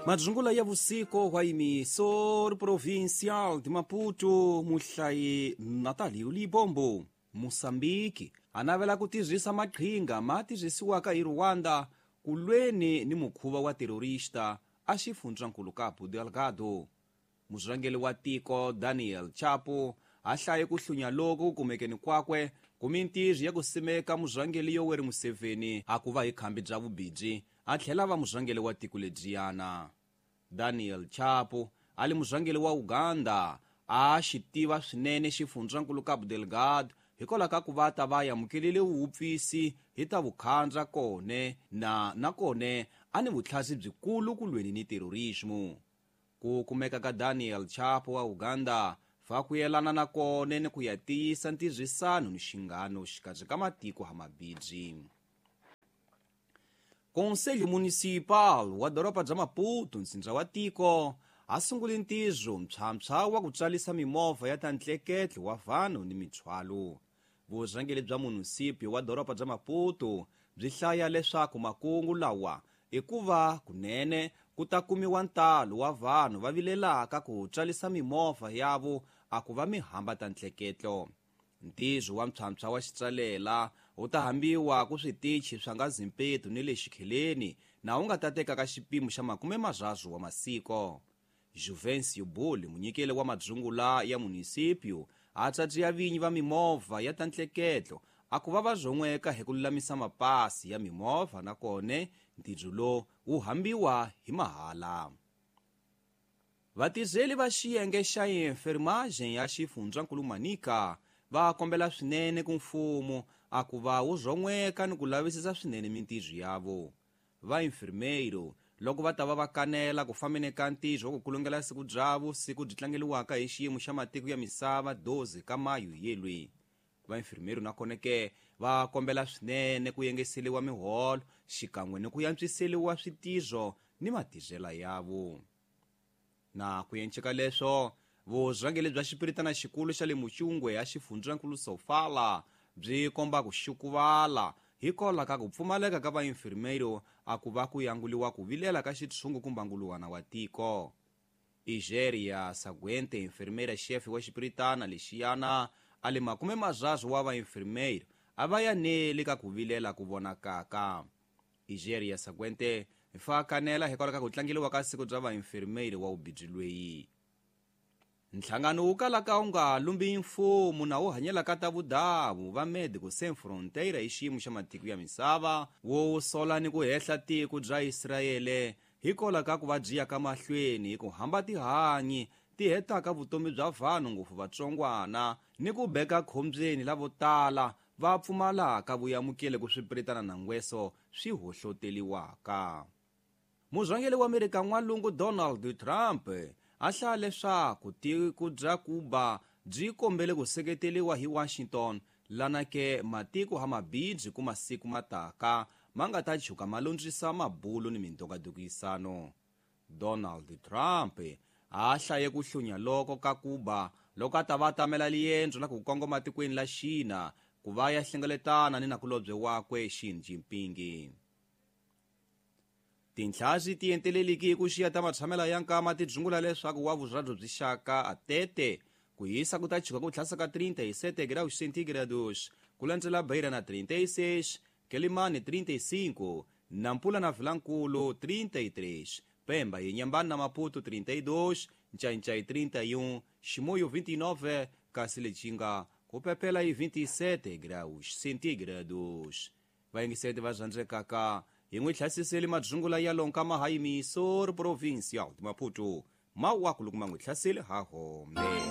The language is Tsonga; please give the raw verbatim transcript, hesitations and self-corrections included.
Madzungula ya vusiko wa emissor provincial de Maputo muhlayi Natalio Libombo. Moçambique a navela ku tirhisa maqhinga ma tirhisiwaka hi Rwanda ku lweni ni mukhuva wa terrorista a xifundzankulu Cabo Delgado. Murhangeri wa tiko Daniel Chapo a hlaye ku hlunya loku kumekeni kwakwe ku mintirho ya ku simeka murhangeri Yoweri Museveni a ku va hi khambi bya vubiji a tlhela va murhangeri wa tiko lebyiyana. Daniel Chapo a li murhangeri wa Uganda a xi tiva swinene xifundzankulu Cabo Delgado hikwalaho ka ku va ta va amukelile vuwupfisi hi ta vukhandza kone na nakone a ni vutlhasi byikulu ku lweni ni terrorismo. Ku kumeka ka Daniel Chapo wa Uganda fa ku yelana na kone ni ku ya tiyisa ntirhisano ni xinghano xikarhi ka matiko ha mabidzi. Conselho Municipal wa doroba bya Maputo ntsindza wa tiko a sungule ntirho mpshampsha wa ku tsarisa mimovha ya ta ntleketlo wa vanhu ni mithwalo. Vurhangeri bya munisipio wa doroba bya Maputo byi hlaya leswaku makungu lawa i ku va kunene ku ta kumiwa ntalo wa vanhu va vilelaka ku tsarisa mimovha yavo a ku va mihamba ta ntleketlo. Ntirho wa mpshampsha wa xitsalela wu ta hambiwa ku switichi swa nga Zimpeto ni le Xikheleni na wu nga ta tekaka xipimo xa makume marharhu wa masiko. Juvencio Buli, munyikeli wa madzungula ya munisipio, a tsatsiya vinyi va mimovha ya ta ntleketlo a ku va va zon'weka hi ku lulamisa mapasi ya mimovha nakone ntirho lowu wu hambiwa hi mahala. Vatirheli va xiyenge xa enfermagem ya xifundzankulu Manica va kombela swinene ku mfumo a ku va wu zon'weka ni ku lavisisa swinene mintirho yavo. Va enfermeiro loko va ta va va kanela ku fambeni ka ntirho wa ku kulungela siku byavo siku byi tlangeliwaka hi xiyimo xa matiko ya misava doze ka mayu yelwi. Va enfermeiro nakona ke va kombela swinene ku yengeseliwa miholo xikan'we ni ku yantswiseliwa switirho ni matirhela yavo. Na ku yenceka leswo vurhangeri bya xipiritana xikulu xa le Muchungwe ya xifundzankulu Sofala byi komba ku xukuvala hikwalaho ka ku pfumaleka ka vaenfermeiro a ku va ku yanguliwa ku vilela ka xitshungu kumbe nguluwana wa tiko. Igeria Saguente, enfermeira chefe wa xipiritana lexiyana a le makume marharhu wa vaenfermeiro a va yaneli ka ku vilela ku vonakaka. Igeria Saguente fa kanela hikwalaho ka ku tlangeliwa ka siku bya vaenfermeiro wa vubiji lweyi. Nhlangano wu kalaka wu nga lumbi mfumo na wu hanyelaka ta vudavu va Médicos Sem Fronteira hi xiyimo xa matiko ya misava wo sola ni ku hehla tiko bya Israele hikwalaho ka ku va byi ya ka mahlweni hi ku hamba tihanyi ti hetaka vutomi bya vanhu ngopfu vatsongwana ni ku beka khombyeni lavo tala va pfumalaka vuyamukele ku swipiritana na ngweso swi hohloteliwaka. Murhangeri wa Amerika n'walungu Donald Trump a hlaya leswaku tiko bya Cuba byi kombele ku seketeliwa hi Washington lana ke matiko ha mabidzi ku masiku mataka ma nga ta chuka ma lundzisa mabulo ni mindongadukisano. Donald Trump a hlaye ku hlunya loko ka Cuba loko a ta va tamela liendzo la ku kongoma tikweni la China ku va ya hlengeletana ni nakulobye wakwe Xi Jinping. Tinhlazi ti enteleliki ku xiya ta matshamela ya nkama ti dzungula leswaku wa vurhadzu byi xaka a tete ku hisa ku ta chuka ku tlhasa ka trinta e sete graus centígrados ku landzela Beira na trinta e seis, Quelimane trinta e cinco, Nampula na Vilankulu trinta e três, Pemba e Inhambane na Maputo trinta e dois, Nchainchai trinta e um, Chimoio vinte e nove, kasi Lichinga ku pepela e vinte e sete graus centígrados. Vayingiseti va zvandzekaka hi n'wi hlasiseli madzungula ya lonka mahayimiso provincial de Maputo mawaku loko ma n'wi hlaseli ha hombe.